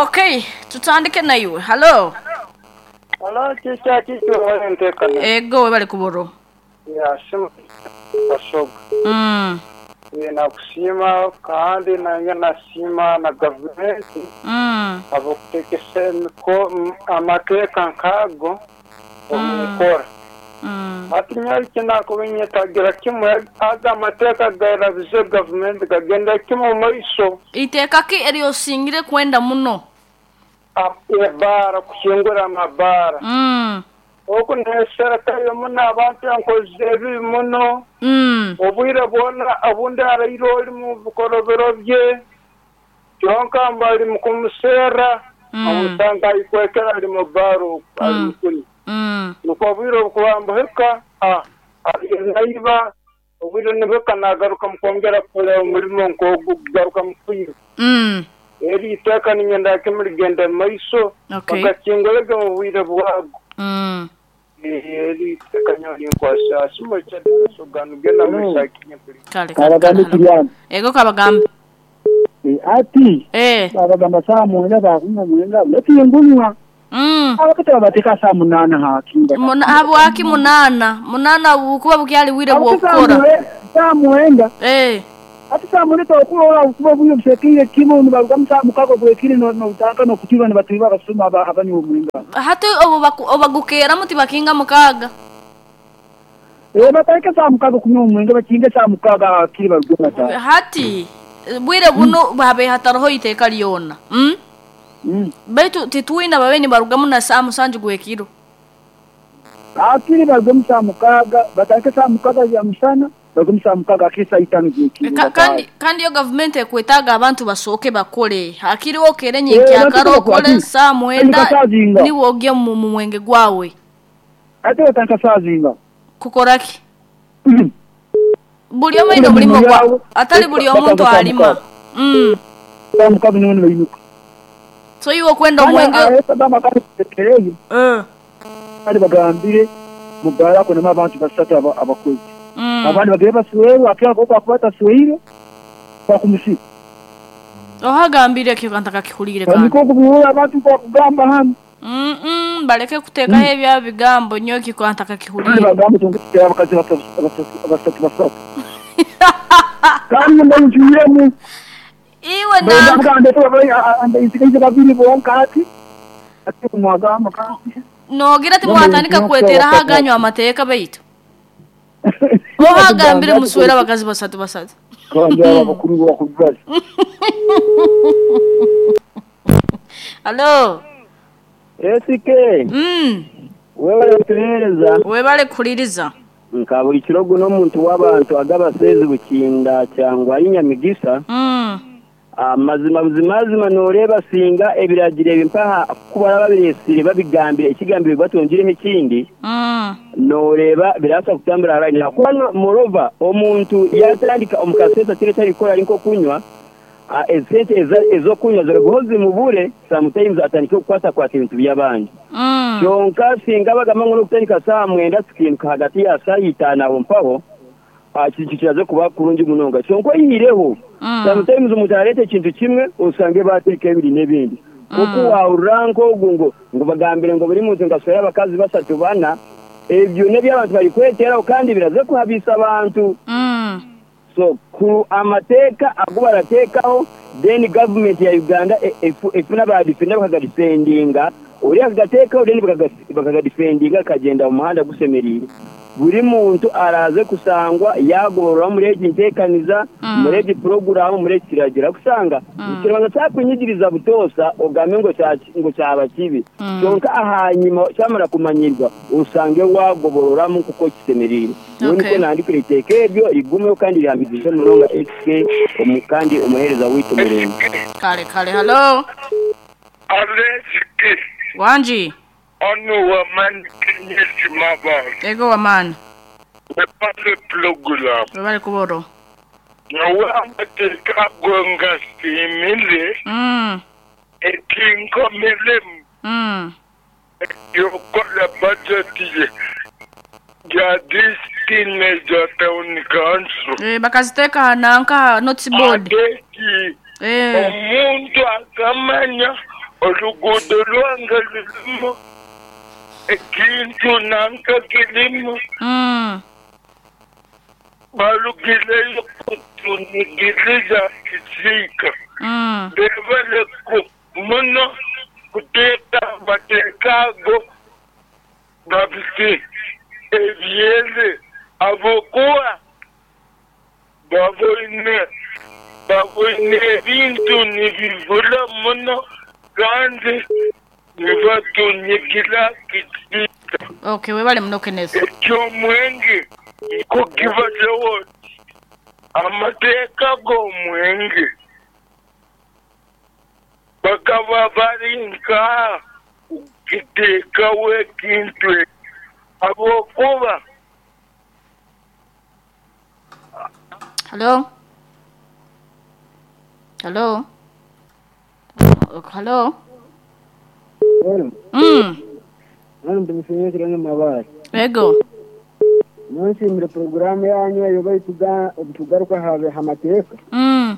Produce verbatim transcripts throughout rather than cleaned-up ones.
Okay, tutandike na iwe. Hello. Hello, chicha chicho walentekana. Ego webale kuboro. Ya simu basoga. Mm. Nakusima kandi nange nasima na gavumenti. Mm. Abakutekesa amateeka nkago omukora. Mm. Ati nyali kinakubinyetagira kimwe aga amateeka garabize gavumenti gagenda kimwe mu maiso. Iteeka ki eryosingire kwenda muno? Ebara kuhingura amabara. Mm. Oku neserekayo muno abantu enkozi ebibi muno. Mm. Obwire bwona obundi araire oli mu bikorobero bye kyonka mbali mu kumuseera Mm. omusanga ayikwekera ali mu baro ali Mm. mukuni. Mm. Nuko obwire obukuba mbuhika naiba obwire nibuhika nagaruka mukwongera kukora omurimo nk'ogu kugaruka mukwiba. Mm. Eri iteeka ninyenda kimurigenda mu maiso Okay. bakakingorege mu bwire bwago. Mm. Eri iteeka nyo linkwasa simo kyadde genda mu sakinya kuli. Kale kale. Kabagambe Kale. kiriyani. Ego kabagambe. Ati Eh. babagamba saa mwenda bakunywa mwenda netingunywa. Mm. Abakati babateka saa munana hakinga. Muna habwaki munana? Munana bukuba bukyali wire bwokukora. Saa mwenda. Eh. Ati saa mwenda okulola okuba buyo busekire kimu nibaruga saa mukago bwekire no notaka no kutiba nibatuiba abasuma abanywa omwenda. Hati obo obagukera muti bakinga mukaga. Eh bateka saa mukago kunywa omwenda bakinga saa mukaga akiri baruga ta. Hati bwire buno babe hataroho iteka lyona. Mm. Mm. Baitu tituina babeni barugamu na saa musanju gwekiro. Akiri barugamu saa mukaga batake saa mukaga ya musana barugamu saa mukaga akiri saa itano gwekiro. Ka, kandi kandi yo government ekwetaga abantu basooke bakole. Akiri okere nyenki akaro okole saa mwenda ni wogye mu mwenge gwawe. Ate bataka saa zinga. Kukoraki? Mm. Buli omu ino mulimo gwa atali buli omuntu alima. Mm. Saa mukaga niwe nibayinuka. So iwe kwenda omwenge eh kandi bagambire mugara ko nama abantu basatu abakozi. Mm. Abandi bagere basuwewe akira ko kwakubata suweire kwa kumushika. Ohagambire kyo kantaka kihulire kandi. Niko kubiura abantu kwa kugamba hano. Mm mm baleke kuteka mm. Ebya bigambo nyoki kantaka kihulire. Bagambo tongekera abakazi basatu basatu basatu. Kandi ndayinjiremo. Iwe na bagamba ndayinjira babiri bonka ati ati kumwagamba kandi. Nogira ati mwatandika kwetera haganywa amateeka baitu. Ohagambire muswera abakazi basatu basatu. Kandi abakuru bakubaza. Hello. S K. Mm. Wewe kuhereza. Webale kuliriza. Nka buli kirogo n'omuntu w'abantu agabasezi bukinda cyangwa inyamigisa. Mm. Amazima buzimazima noreba singa ebiragire ebimpaha kubara babiresire babigambire ekigambire batongireho ekindi. Mm. Noreba birasa kutambura haranyira kuba morova omuntu yatandika omukasesa kire cyari kora ariko kunywa esente ezo kunywa ziragozi mubure sometimes atandika kukwata kwata ibintu by'abandi. Mm. Kyonka singa bagamba ngo kutandika saa mwenda sikintu hagati ya saa itanu aho mpaho kintu kiraze kuba kurungi munonga kyonka yireho. Mm. Sometimes omuntu arete ekintu kimwe osange bateka ebiri n'ebindi. Kuko wawuranko ogungo ngo bagambire ngo buri muntu ngaswera abakazi basatu bana ebyo n'ebyabantu bari kweteraho kandi biraze kuhabisa abantu. Mm. So ku amateeka ago baratekaho then government ya Uganda efuna ba defender bakagadefendinga uri akagatekaho then bakagadefendinga kagenda mu muhanda gusemerire. Buri muntu araze kusangwa yagorora muri egi ntekaniza mm. muri egi program muri kiragira kusanga mm. Kirango cyakunyigiriza butosa ogambe ngo ngo cyaba kibi mm. Kyonka ahanyima cyamara kumanyirwa usange wagobororamu kuko kisemerire. Okay. Niko nandikira iteka ebyo rigumeho kandi rihambije muronga X K omukandi umuhereza wito murembe. Kale kale hello. Aleski. Wanji. Onu waman kinyesi mabal. Ego waman. Webale program. Webale kuboro. Nawe amateeka ago ngasimile. Mm. Etinkomelemu. Mm. Yokola budget ya this teenager town council. Eh bakaziteka nanka notice board. Adeki Eh. Omuntu akamanya oluguudo lwange lulimu ekintu nanka kirimu. Mm. Balugireyo kutunigiriza kisiika. Mm. Bebale muno kuteeka bateekaago babiti ebyere abokuwa baboine baboine ebintu nibivula muno kandi nibatunigira kisiika. Okay, webale muno Kenneth. Ekyomwenge kukibazewo amateeka g'omwenge bakaba bari nka kiteekawo ekintu abokuba. Hello? Hello? Hello? Hello. Mm. Hano ndimusenyekera n'amabara. Ego. Nshimire programu yanyu eyo bayituga obutugaruka habe hamateeka. Mm.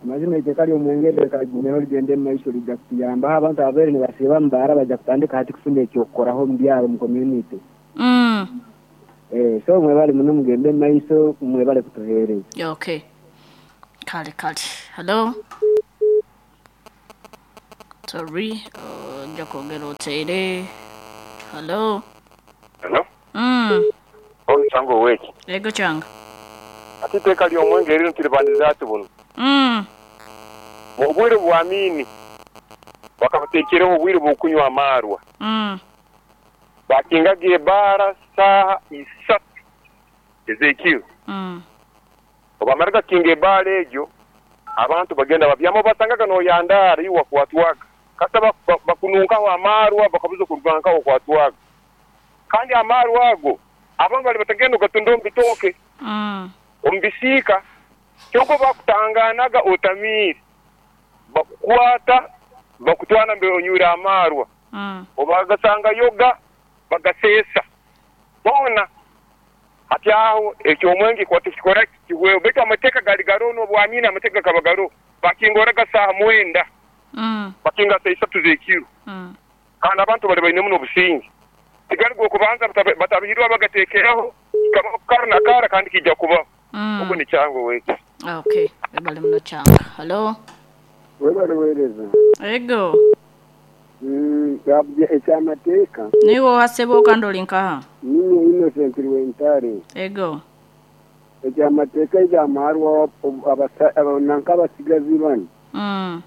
Amazima iteka ly'omwenge kagumero ligende mu maiso lijja kutuyambaho abantu ababeere nibasiiba mu baara bajja kutandika hati kufuna ekyokukoraho mu byaro mu community. Mm. Eh, so mwebale muno mugende mu maiso mwebale kutuheereza. Okay. Kale kale. Hello? Sorry, uh, nja kwongera oteere. Hello? Hello? Mm. Olusango weki. Ego kyanga. Ate iteeka ly'omwenge erino tiribandiza ati buno. Mm. Mu bwire bw'Amini bakabateekereho obwire bw'okunywa amaarwa. Mm. Bakingaga ebaara saaha isatu ez'ekiro. Mm. Obamaraga kinga ebaara egyo abantu bagenda babyama basangaga n'oyandaara iwe wakwatwaga. Kata bakununkaho amaarwa bakabuza okurugankaho okwatwaga. Kandi amaarwa ago abamu bali batagenda ogatunda omu bitooke. Mm. Omu bisiika kyonka bakutanganaga otamiire bakukwata bakutwara mbere onywire amaarwa. Mm. Obagasanga yoga bagaseesa boona hati aho ekyomwenge kwata kikora kiweho baitu amateeka gali garoho n'obwamini amateeka gakaba garoho bakingoraga saaha mwenda. Mm. Bakinga saa isatu z'ekiro. Mm. Kandi abantu bali baine muno obusinge tigali gwokubanza batabihirwa bagateekeraho kikabaho kara na kara kandi kijja kubaho. Mm. Ogwo ni kyangu weki. Okay, webale muno kyanga. Hello? Webale weereza. Ego. Mm, gabye ekyamateeka. Niwe ohasebo kandi oli nkaha? Ninye Innocent Rwentare. Ego. Ekyamateeka ekyamaarwa nanka abasigazi bano. Mm.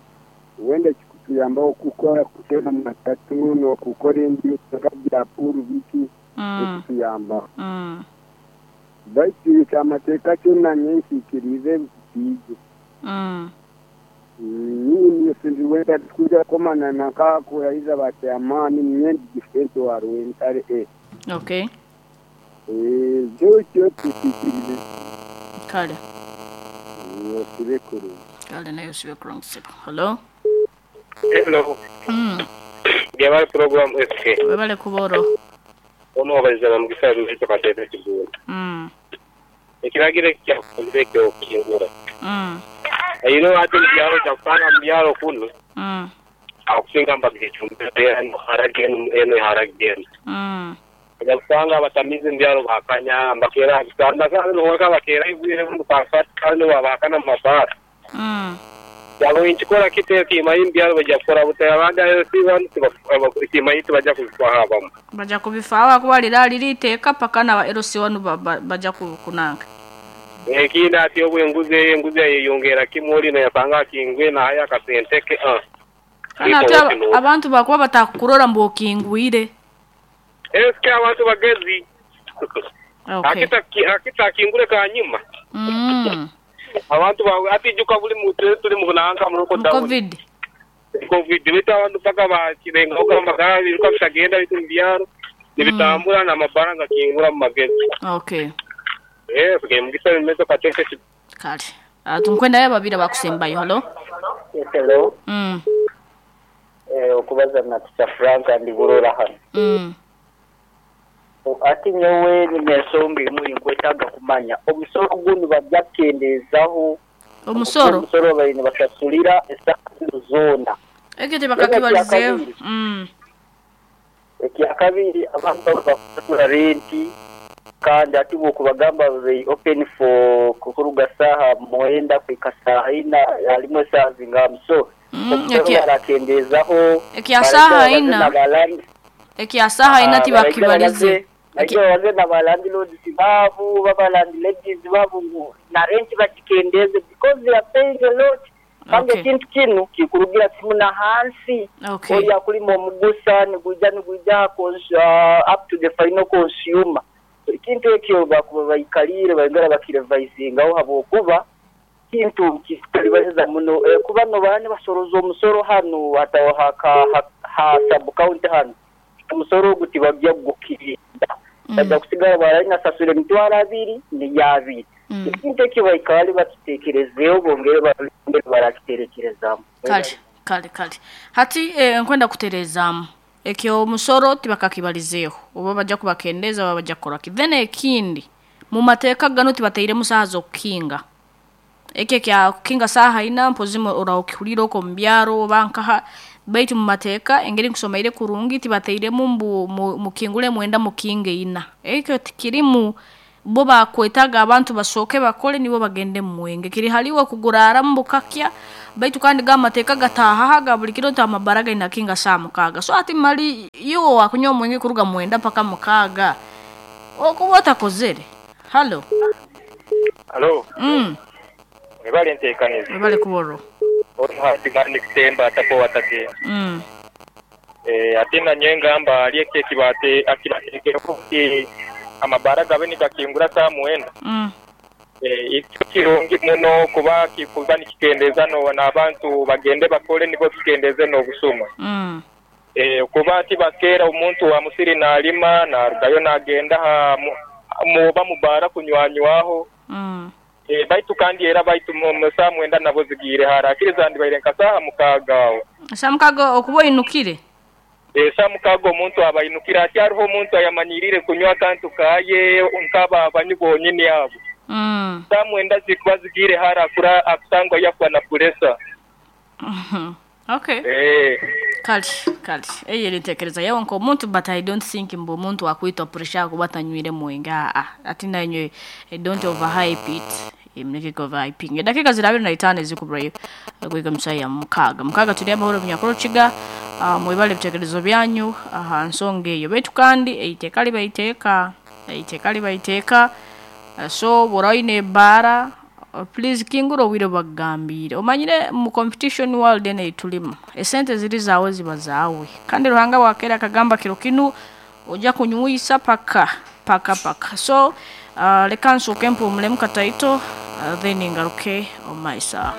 Wenda kikutuyambaho okukora kutera matatu n'okukora endi nka bya puuru biki Mm. ekituyambaho. Mm. Baitu ekyamateeka kyonna nyensiikirize kiije. Mm. Ninye Innocent Rwentare tukuja komana nanka kurahiza bakyamaani ninye ndi wa Rwentare e. Okay. Eh, kyo kyo tusiikirize. Kale. Osibe kurungi. Kale nayo osibe kurungi sebo. Hello? Hello. Mm. Byabale program S K. Webale kuboro. Ono wabalizana mugisa ruhito katebe kibula. Mm. Ekiragiro kyakozire kyo kingura. Mm. Ayino ate mbyalo kyakutanga mbyalo kuno. Mm. Akusinga mbagichumbe eno harageno eno harageno. Mm. Kyakutanga abatamizi mbyalo bakanya mbakera kitanda sana noka bakera ibwire mu pasat kandi wabakana mu mabara. Mm. Yabo inchikora kite kimayi mbyalo bajja kukora butera abandi ayo si bantu kimayi tibajja kubifaaho abamu. Bajja kubifaaho kuba lirali liteeka paka na L C one bajja kunanga. Ekindi ati obwenguzi enguzi yeyongera kimuli nayasanga akingwe naye akasente ke ah. Kana ate abantu bakuba batakurora mbu okingwire. Eske abantu bagezi. Okay. Akita akita akingure kanyuma. Mm. Abantu atijuka buli muntu tuli mu kunanga mu lockdown. Covid. Covid bita abantu paka bakirenga uko amagara biruka bitagenda bitu mbyaro nibitambura na mafaranga kingura mu magezi. Okay. Eh, okay, mugisa bimezo kateke. Kale. Atunkwenda yaba babira bakusembayo. Hello? Hello. Mm. Eh, okubaza na Tita Frank ndi burora hano. Mm. Ati nyowe ni ensonga emu nkwetaaga kumanya omusolo guno bajja kukendeezaho Omusoro Omusoro baine basasulira esaaha zoona. Ekyo tebakakibalizeeho. Mm. Ekyakabiri, abantu bakusasura renti kandi ati bwokubagamba they open for kuruga saaha mwenda kuhika saaha ina, halimu esaaha zingamu, so Mm, omusoro ekya- barakendeezaho. Ekya saaha ina. Ekya saaha ina tibakibalize. Ekyo baze na ba landlords baabo, baba landladies baabo ngu na renti bakikendeze because they are paying a lot. Kandi Okay. ekintu kinu kikurugira kimu na hansi. Okay. Oya kulima omugusa niguija niguija cons- uh, up to the final consumer. Ekintu ekyo bakuba baikalire baingara bakirevisingaho habwokuba kintu kitalibaheza muno. Eh, kuba no bani basoroza omusoro hanu hata haka ha, ha sub county hanu omusoro ogu tibajja kugukirinda, bajja kusigala baranasasura emitwaro abiri niyabiri. Mm. Ekintu ekyo baikale bakitekerezeeho, bongere bongere barakiterekerezamu. Kale kale kale, hati eh, nkwenda kutereezaamu ekyo omusoro tibakakibalizeeho, oba bajja kubakendeza oba bajja kukoraki. Then ekindi, mu mateeka gano tibateiremu saaha z'okukinga. Ekyo ekya kukinga saaha ina mpozi orawukihurira okwo mu byaro oba nkaha, baitu mu mateeka engeri nkusomeire kurungi tibateiremu mbu mu- mukingule mwenda mukinge ina. Ekyo tikirimu. Bo bakwetaga abantu basooke bakole nibo bagende mu mwenge, kiri haliwe kuguraramu bukakya. Baitu kandi ga mateeka gatahahaga buli kiro nti amabara gaina kinga saa mukaaga. So ati mali iwe wakunywa omwenge kuruga mwenda paka mukaaga okuba otakozere. Halo. Halo. Mm. Mwebale nteekaniza. Webale kuborro. Otuhatimani kutemba atapo watage. Mm. Eh, ate nanye ngamba ali eki ekibate akibateekereko nti amabara gabe nigakingura saa mwenda. Mm. Eh, ekyo kirungi muno kuba kikuba nikikendeza no n'abantu bagende bakole nibo kikendeze n'obusuma. Mm. Eh, kuba tibakeera omuntu wa musiri nalima narugayo nagenda ha mu- muba mubara kunywanywaho. Mm. Eh, baitu kandi era baitu mu mu saa mwenda nabo zigiire harakiri zandibaire nka saaha mukaaga aho. Saa mukaaga okuba oinukire. Eh, saa mukaaga omuntu abainukire, ati hariho omuntu ayamanyirire kunywa akantu kaye nk'aba abanywi bonyini abo. Mm. Saa mwenda zikuba zigiire hara akura akusangwa yafa na puresa. Mhm. Okay. Eh, Kale kale, eyo eri yawe nk'omuntu, but I don't think mbu omuntu akwitwa pressure kuba tanywire mwenge. Aa, ati nanywe, eh, don't overhype it. Eh, muleke overhyping. Eddakiika ziri abiri na itaano ezikuburayo kuiga musayi ya mukaaga mukaaga. Tuli amahoro munyakoro kiga. uh, mwebale ebitekerezo byanyu aha nsonga eyo. Baitu kandi eiteeka libaiteeka, eiteeka libaiteeka. Uh, so bw'ora oine ebbaara, uh, please kingura obwire bwakugambire. Omanyire mu competition world eno eitulimu, esente ziri zaawe ziba zaawe, kandi Ruhanga bwakeera akagamba kiro kinu ojja kunywisa paka paka paka. So uh, leka nsooke mpuumulemu kataito, uh, then ngaruke omu maiso aho.